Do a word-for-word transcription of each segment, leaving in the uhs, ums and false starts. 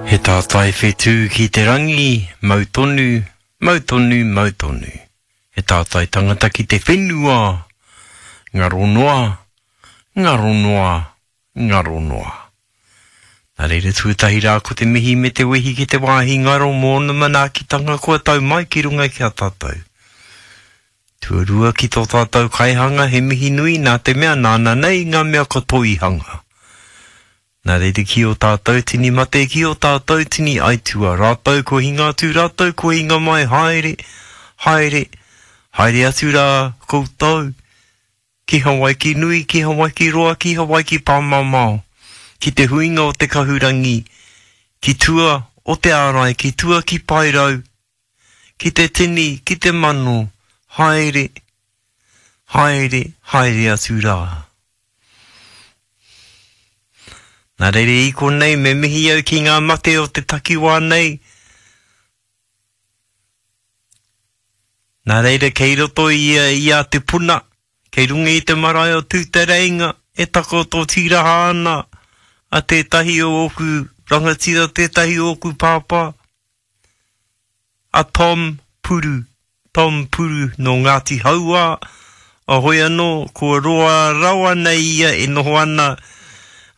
He tātai whetū ki te rangi, mau tonu, mau tonu, mau tonu. He tātai tangata ki te whenua, ngaro noa, ngaro noa, ngaro noa. Nā reira tuatahi rā ko te mihi me te wehi ki te wāhi ngaro mō ōna manaakitanga kua tau mai ki runga ki a tātou. Tuarua ki tō tātou kaihanga he mihi nui nā te mea nāna nei ngā mea katoa i hanga. Nā reira ki ō tātou tini mate, ki ō tātou tini aitua, rātou kua hinga atu, rātou kua hinga mai, haere, haere, haere atu rā koutou, ki Hawaiki nui, ki Hawaiki roa, ki Hawaiki pāmamao, ki te huinga o te kahurangi, ki tua o te ārai, ki tua ki Paerau, ki te tini, ki te mano, haere, haere, haere atu rā. Nā reira i konei me mihi au ki ngā mate o te takiwā nei. Nā reira kei roto i, i a Te Puna, kei runga i te marae o Tūtereinga, e takoto tīraha ana a tētahi o ōku rangatira, tētahi o ōku pāpā, a Tom Puru, Tom Puru nō Ngāti Hauā, a hoi anō, kua roa rawa nei ia e noho ana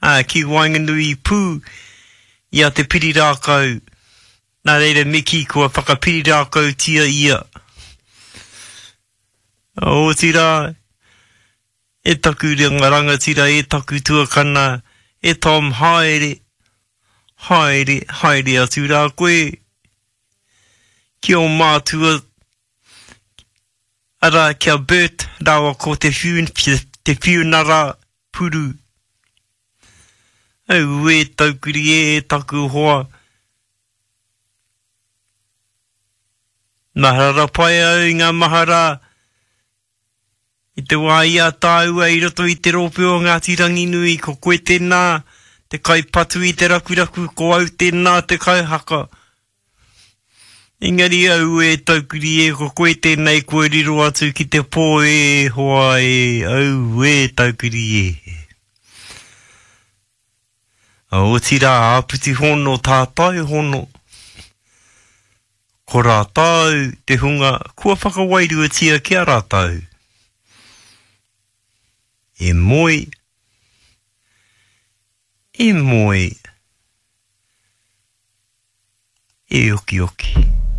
ā, ki waenganui pū i a Te Pirirākau, nā reira me kī kua whakapirirākautia ia. Otirā, e taku rangatira, e taku tuakana, e Tom, haere, haere, haere atu rā koe ki ō mātua, arā, ki a Bert rāua ko Te Te Whiunara Puru. Auē taukiri e taku hoa. Mahara pai au i ngā mahara i te wā i a tāua i roto i te rōpū o Ngāti Ranginui, ko koe tēnā te kaipatu i te rakuraku, ko au tēnā te kaihaka. Engari auē taukiri e, ko koe tēnei kua riro atu ki te pō e hoa e, auē taukiri e. Otirā, āpiti hono, tātai hono, ko rātou te hunga kua whakawairuatia ki a rātou. E moe, e moe, e okioki.